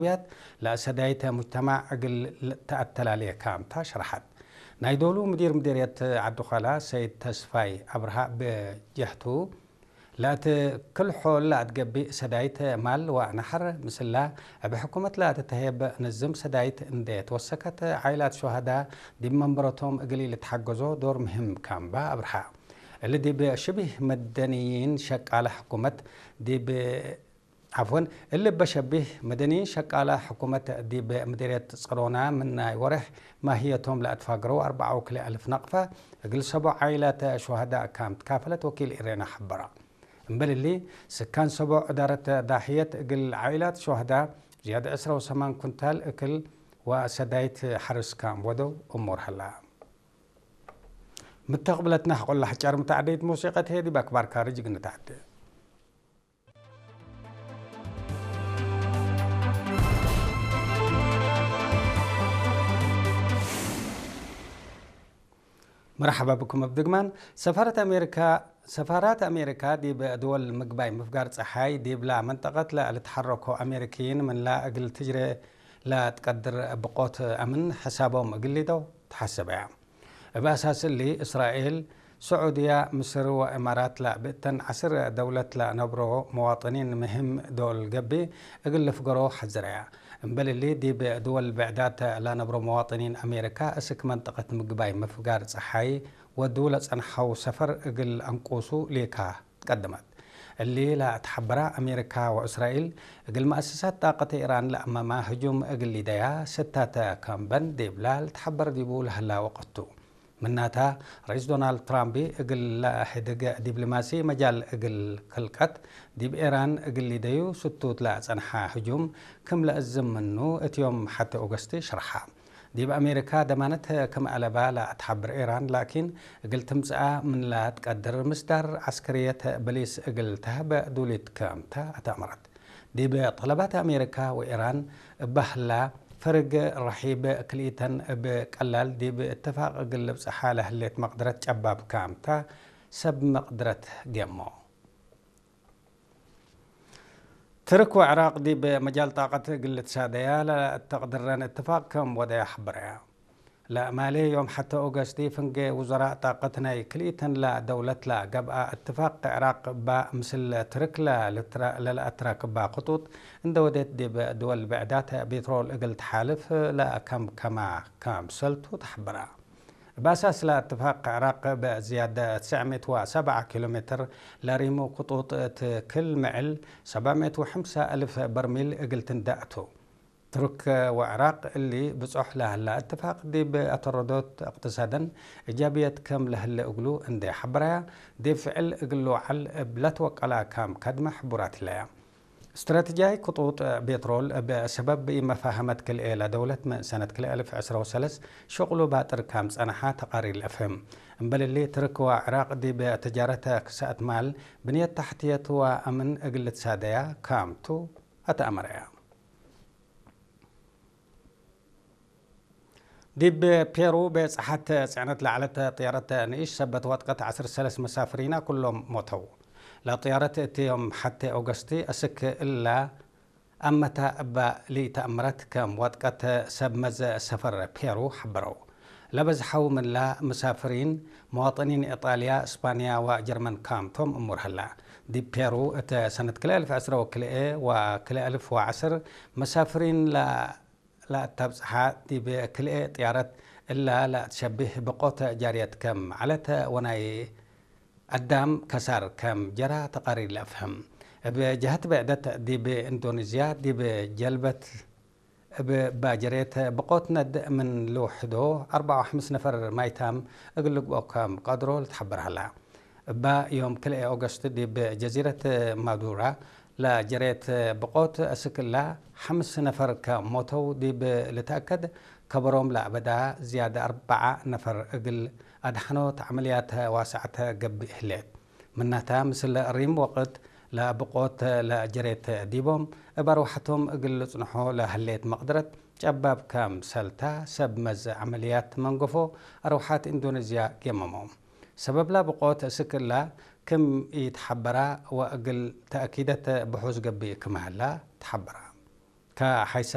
ውያት ለሰዳይተ ሙጅተማዕ እግል ተኣተላልየ ካምታ ሸርሓት። ናይ ዶሉ ምዲር ምዲርየት ዓዲ ዃላ ሰይድ ተስፋይ ኣብርሃ ብጀህቱ ለእቲ ክልሖ ለኣትገቢእ ሰዳይት ማል ወናሕር ምስላ እብ ሕኩመት ለእትተሄብ ንዝም ሰዳይት እንደ ተወሰከት ዓይላት ሸሃዳ ዲብ መንበረቶም እግሊ ልትሓገዞ ዶር ምህም ካምባ ኣብርሃ። እሊ ዲብ ሽቢህ መደንይን ሸቃለ ሕኩመት ዲብ ዓፍወን፣ እሊ በሸቢህ መደንይን ሸቃላ ሕኩመት ዲብ ምድርየት ጽሮና ምን ናይ ወርሕ ማህየቶም ለኣትፋግረው ኣርባዓ ወክልኤ ኣልፍ ናቕፋ እግል ሰቦ ዓይላት ሸሃዳ ካም ትካፈለት ወኪል ኢሬና ሐበራ። እምበል እሊ ስካን ሰቦ ዕዳረት ዳህየት እግል ዓይላት ሸሃዳ ዝያድ ዕስራ ወሰማን ኩንታል እክል ወሰዳይት ሐርስ ካም ወደው እሙር ሀላ። ምተቕብለትና ቆላሕ ጫር ምተዓደይት ሙሲቀት ሄ ዲብ ኣክባር ካርጅ ግንታዕደ። መርሓባ ብኩም ኣብ ድግማን። ሰፋረት ኣሜሪካ ሰፋራት ኣሜሪካ ዲብ ድወል ምግባይ ምፍጋር ጸሓይ ዲብላ መንጠቀት ለልትሓረኮ ኣሜሪክይን ምንላ እግል ትጅሬ ለትቀድር ብቆት ኣምን ሕሳቦም እግሊዶ ተሓሰበ እያ። እብ ኣሳስ እሊ እስራኤል፣ ስዑድያ፣ ምስር ወእማራት ለብእተን ዓስር ደውለት ለነብሮ መዋጥኒን ምህም ዶል ገቢ እግል ልፍገሮ ሐዝረያ። እምበል እሊ ዲብ ድወል ብዕዳት ለነብሮ መዋጥኒን ኣሜሪካ እስክ መንጠቀት ምግባይ ምፍጋር ጸሓይ ወዱ ለጸንሐው ሰፈር እግል ኣንቁሱ ሌካ ትቀደመት። እሊ ለትሐበራ ኣሜሪካ ወእስራኤል እግል መኣሰሳት ጣቀት ኢራን ለኣመማ ህጁም እግል ሊደያ ስታተ ካምበን ዲብላ ልትሐበር ዲቡ ለህላ ወቀቱ። ምናታ፣ ርኢስ ዶናልድ ትራምፕ እግል ለህድግ ዲብሎማሲ መጃል እግል ክልቀት ዲብ ኢራን እግል ሊደዩ ስቱት ለጸንሓ ህጁም ክም ለእዝም ምኑ እትዮም ሐቲ ኦገስቲ ሽርሓ። ዲብ ኣሜሪካ ደማነት ክም ኣለባ ለትሓብር ኢራን ላኪን እግል ትምጽኣ ምን ለትቀድር ምስዳር ዐስከርየት በሊስ እግል ተህበ ዱሊት ከምታ ኣተእመረት። ዲብ ጠለባት ኣሜሪካ ወኢራን እባ ህላ ፈርግ ረሒብ ክልኢተን እብ ቀላል ዲብ እትፋቅ እግል ልብጽሓ ለህሌት መቅድረት ጨባብ ከምታ ሰብ መቅድረት ጌሞ። ትርክ ወዕራቅ ዲብ መጃል ጣቀት እግል ልትሳደያ ለእተቅድረን እትፋቅ ከም ወደያ ሐበረያ። ለማሌ ዮም ሐተ ኦገስቲ ፍንጌ ውዘራእ ጣቀት ናይ ክልኢተን ለደውለት ለገብኣ እትፋቅ ዕራቅ እባ ምስል ትርክ ለልትራ-፣ ለለኣትራክባ ክጡጥ እንደ ወዴት ዲብ ድወል ብዕዳት ቤትሮል እግል ተሓልፍ ለከምከማ ከምሰልቱ ተሐበራ። እብ ኣሳስ ለእትፋቅ ዕራቅ ብዝያደ ትስዕ ሚእት ወሰብዓ ኪሎ ሜትር ለሪሙ ክጡጥ እት ክል ምዕል ሰብዓ ሚእት ወሐምሳ ኣልፍ በርሚል እግል ትንዳእቱ። ትርክ ወዕራቅ እሊ ብጾሕ ለህላ እትፋቅ ዲብ ኣተረዶት እቅትሳደን እጃብየት ከም ለህለ እግሉ እንዴ ሐበራያ፣ ዲብ ፍዕል እግል ልውዓል እብ ለትወቀላ ከም ከድመ ሕቡራት ህለያ። እስትራተጂያይ ክጡጥ ቤትሮል እብ ሰበብ ኢመፋሀመት ክልኤ ለደውለት ምን ሰነት ክልኤ ኣልፍ ዕስራ ወሰለስ ሸቅሉ ባጥር ከም ጸነሓ ተቃሪር ለፍህም። እምበል እሊ ትርክ ወዕራቅ ዲብ ተጃረተ ክሳእት ማል፣ ብንየት ታሕትየት ወኣምን እግል ልትሳደያ ካምቱ ኣተኣመረያ። ዲብ ፔሩ ቤጽሓት ጽዕነት ለዓለት ጥያረት ንእሽ ሰበት ወጥቀት ዐስር ሰለስ መሳፍሪና ኩሎም ሞተው። ለጥያረት እቲ ዮም ሐቴ ኦገስቲ እስክ እላ ኣመታ እባ ልኢተኣምረት ከም ወጥቀት ሰብ መዘ ሰፈር ፔሩ ሐበረው። ለበዝሐው ምንላ መሳፍሪን መዋጥኒን ኢጣልያ፣ እስፓንያ ወጀርመን ካምቶም እሙር ሀላ። ዲብ ፔሩ እተ ሰነት ክልኤ ኣልፍ ዕስራ ወክልኤ ወክልኤ ኣልፍ ወዐስር መሳፍሪን ለ-፣ ለአተብጽሓ ዲብ ክልኤ ጥያረት እላ ለአትሸብህ ብቆት ጃርየት ከም ዐለት ወናይ አዳም ከሳር ከም ጀራ ተቃሪር ለአፍህም። እብ ጀሀት ብዕደት ዲብ ኢንዶኒዝያ ዲብ ጀልበት እብ ባጀሬት ብቆት ነድ ምን ልውሕዶ አርበዓ ወሐምስ ነፈር ማይታም እግል ልግብኦ ከም ቀድሮ ልትሐበር ሀላ። እባ ዮም ክልኤ ኦገስት ዲብ ጀዚረት ማዱራ ለጀሬት ብቆት እስክላ ሐምስ ነፈር ከሞተው ዲብ ልትአከድ ከበሮም ለአበዳ ዝያድ አርበዓ ነፈር እግል አድሐኖት ዐመልያት ዋስዐተ ገብእ ህሌት። ምናታ ምስል ሪም ወቅት ለብቆት ለጀሬት ዲቦም እብ አርወሐቶም እግል ልጽንሖ ለህሌት መቅድረት ጨባብ ከም ሰልታ ሰብ መዝ ዐመልያት መንገፎ አርወሐት ኢንዶኔዝያ ጌመሞም። ሰበብላ ብቆት እስክላ ክም ኢትሐበራ ወእግል ተእኪደት ብሑዝ ገብእ ክም ሀላ ተሐበራ። ከሐይሰ